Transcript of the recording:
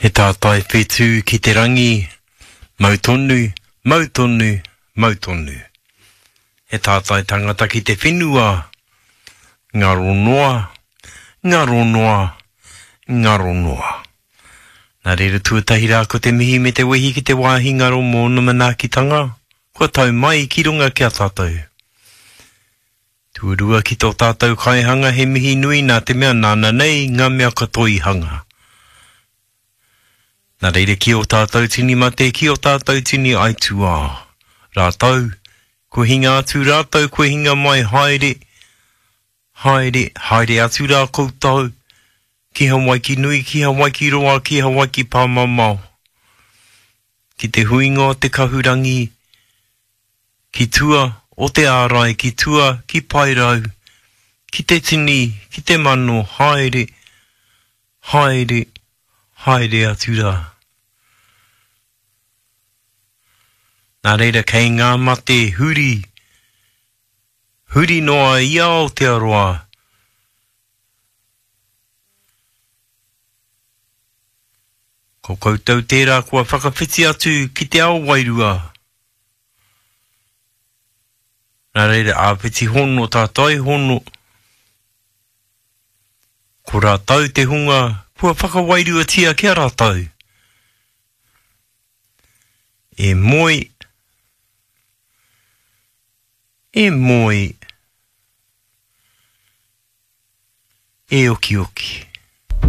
He tātai whetū ki te rangi, mau tonu, mau tonu, mau tonu. He tātai tangata ki te whenua, ngaro noa, ngaro noa, ngaro noa. Nā reira tuatahi rā ko te mihi me te wehi ki te wāhi ngaro mōna manaakitanga kua tau mai ki runga ki a tātou. Tuarua ki tō tātou kaihanga he mihi nui nā te mea nāna nei ngā mea katoa i hanga. Nā reira ki ō tātou tini mate, ki ō tātou tini aituā. Rātou, kua hinga atu rātou, kua hinga mai, haere, haere, haere atu rā koutou, ki Hawaiki nui, ki Hawaiki roa, ki Hawaiki pāmamao, ki te huinga o te kahurangi, Ki tua o te ārai, ki tua ki Paerau, ki te tini, ki te mano, haere, haere, haere atu rā. Nā reira kei ngā mate huri, huri noa i Aotearoa, Ko koutou tērā kua whakawhiti atu ki te ao wairua. Nā reira, āpiti hono, tātai hono, ko rātou te hunga kua whakawairuatia ki a rātou. E moe, e moe, e okioki.